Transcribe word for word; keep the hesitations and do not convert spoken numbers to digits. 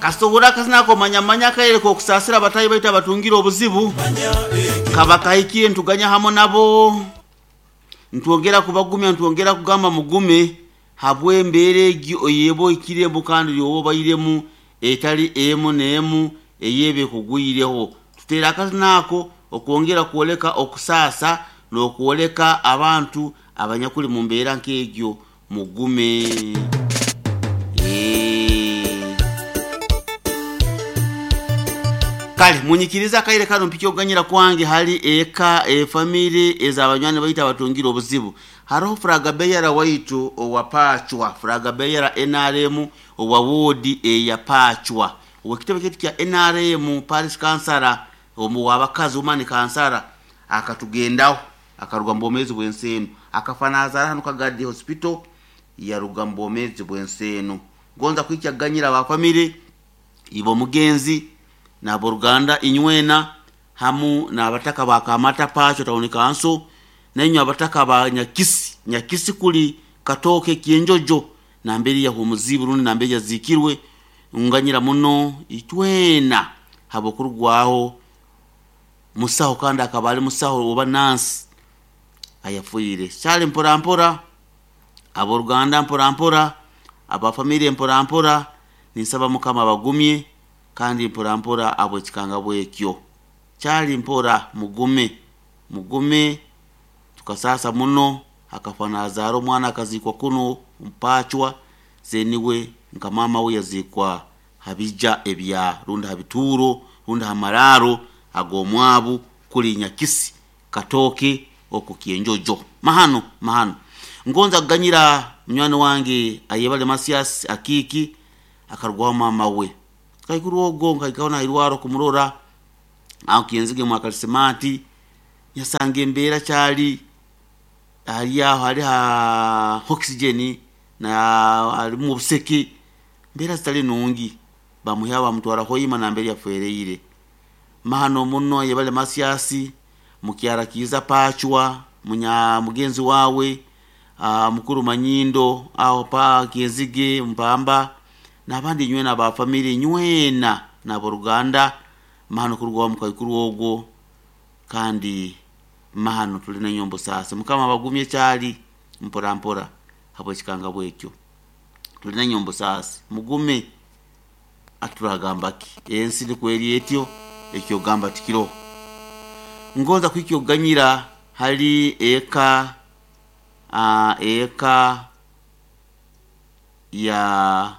Kasobora akazina komanyamanya akaire kokusasira abatayi baitu abatungire obuzibu kaba kahikire ntuganya hamo nabo ntwongera kubagumya ntwongera kugamba mugume habw'embeera egyo eyeba ohikiremu kandi yoba obairemu etali emu n'emu eyeba ekugwireho. Tuteera akazina ako okwongera kwoleka okusaasa n'okwoleka abantu abanyakuli mu mbeera nk'egyo mugume. Eh. Kale munyikiriza akaire kano mpike okuganyira kwange hali eka efamily ez'abanywani baitu abatungire obuzibu. Haroho Furagabeyara waitu owa Pachwa, Furagabeyara N R M owa woodi eya Pachwa, ow'ekitebe kyaitu kya N R M parish kansara omu w'abakazi woman kansara akatugendaho akaruga mu bwomeezi bw'ensi enu, akafa nazaara hanu Kagadi Hospital yaruga mu bwomeezi bw'ensi enu. Ngonza kwikya kuganyira aba family ibo omugenzi n'aboruganda inywena hamu n'abataka ba Kamata Pachwa Town Council nainywe abataka ba Nyakisi, Nyakisi kuli Katooke Kyenjojo nambere yahumuziibwe rundi nambere yaziikirwe. Nganyira muno itwena habw'okurugwaho musaho kandi akaba ali musaho oba nansi ayafiire. Kyali mpora mpora aboruganda mpora mpora abafamily mpora mpora ninsaba Mukama abagumye kandi mpora mpora abw'ekikanga bwekyo. Kyali mpora mugume mugume tukasasa muno akafa nazaara omwana akaziikwa kuno Mpachwa zeniwe nka mama we yaziikwa habija ebya rundi habituuro rundi hamararo ag'omwabu kuli Nyakisi Katooke oku Kyenjojo. Mahano mahano ngonza kuganyira munywani wange ayebale Masias Akiiki akarugwaho mama we kaikuru ogwo nkaikaho nairwaro kumurora aho Kyenzige mwakalisimati yasanga embeera kyali hali aho hali ha oxygen na halimu obuseke mbeera zitali nungi bamuha bamutwara Hoima nambere yafereire. Mahano muno yebale Masiasi mukyara kiiza Pachwa munya mugenzi wawe aa, mukuru Manyindo aho pa Kyenzige Mpamba n'abandi nywena aba family nywena n'aboruganda mahano kurugwaho mukaikuru ogwo kandi mahano tuli nenyombo sasa. Mukama abagumye kyali mpora mpora habw'ekikanga bwekyo tuli nenyombo sasa mugume. Aturagamba ki ensi nikweri etyo ekyogamba tikiroho. Ngonza kwikya okuganyira hali eka aa, eka ya